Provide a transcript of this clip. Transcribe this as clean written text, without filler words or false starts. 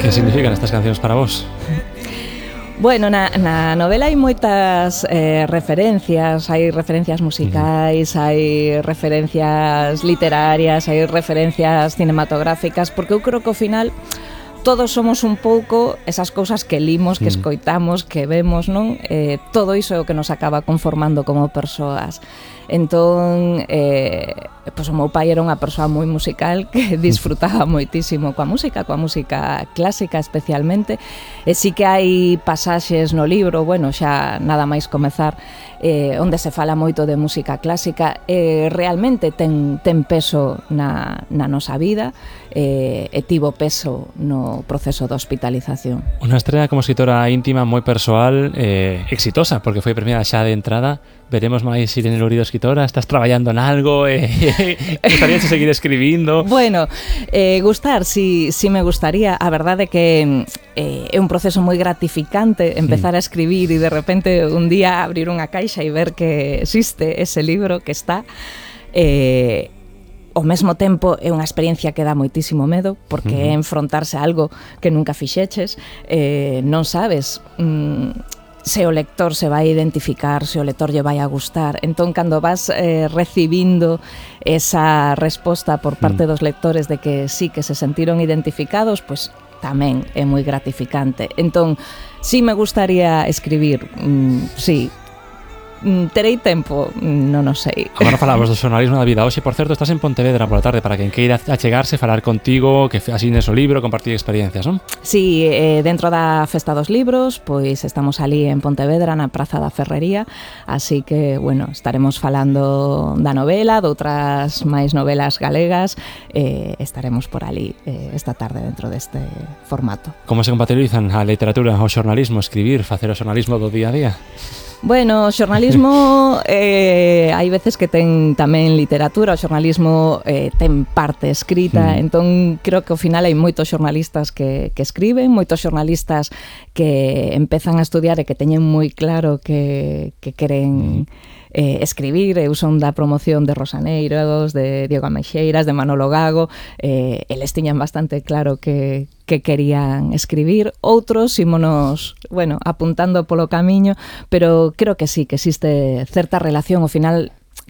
Que significan estas cancións para vos? Bueno, na novela hai moitas referencias, hai referencias musicais, hai referencias literarias, hai referencias cinematográficas, porque eu creo que ao final todos somos un pouco esas cousas que limos, que escoitamos, que vemos, non? Todo iso é o que nos acaba conformando como persoas. Entón, pois o meu pai era unha persoa moi musical que disfrutaba moitísimo coa música clásica especialmente, e sí que hai pasaxes no libro, bueno, xa nada máis comezar, onde se fala moito de música clásica, realmente ten peso na nosa vida, e tivo peso no proceso de hospitalización. Unha estrela como escritora íntima moi persoal, exitosa, porque foi premiada xa de entrada. Veremos máis Irene Lourido escritora? Estás traballando en algo? Gustaría seguir escribindo? Bueno, gustar, sí me gustaría. A verdade é que é un proceso moi gratificante empezar a escribir e de repente un día abrir unha caixa e ver que existe ese libro que está. Ao mesmo tempo é unha experiencia que dá moitísimo medo, porque é enfrontarse a algo que nunca fixeches, non sabes se o lector se vai identificar, se o lector lle vai a gustar. Entón, cando vas recibindo esa resposta por parte dos lectores de que sí, que se sentiron identificados, pois tamén é moi gratificante. Entón, sí me gustaría escribir, sí. Terei tempo? Non o sei. Agora falamos do xornalismo da vida. Hoxe, por certo, estás en Pontevedra pola tarde para quen queira achegarse, falar contigo, que asines o libro, compartir experiencias, non? Sí, dentro da Festa dos Libros, pois estamos ali en Pontevedra, na Praza da Ferrería, así que, bueno, estaremos falando da novela, de outras máis novelas galegas, estaremos por ali esta tarde dentro deste formato. Como se compatibilizan a literatura, o xornalismo, escribir, facer o xornalismo do día a día? Bueno, o xornalismo hai veces que ten tamén literatura, o xornalismo ten parte escrita, entón creo que ao final hai moitos xornalistas que escriben, moitos xornalistas que empezan a estudiar e que teñen moi claro que queren escribir. Eu son da promoción de Rosaneiros, de Diego Ameixeiras, de Manolo Gago, eles tiñan bastante claro que querían escribir. Outros ímonos, bueno, apuntando polo camiño, pero creo que sí, que existe certa relación. Ao final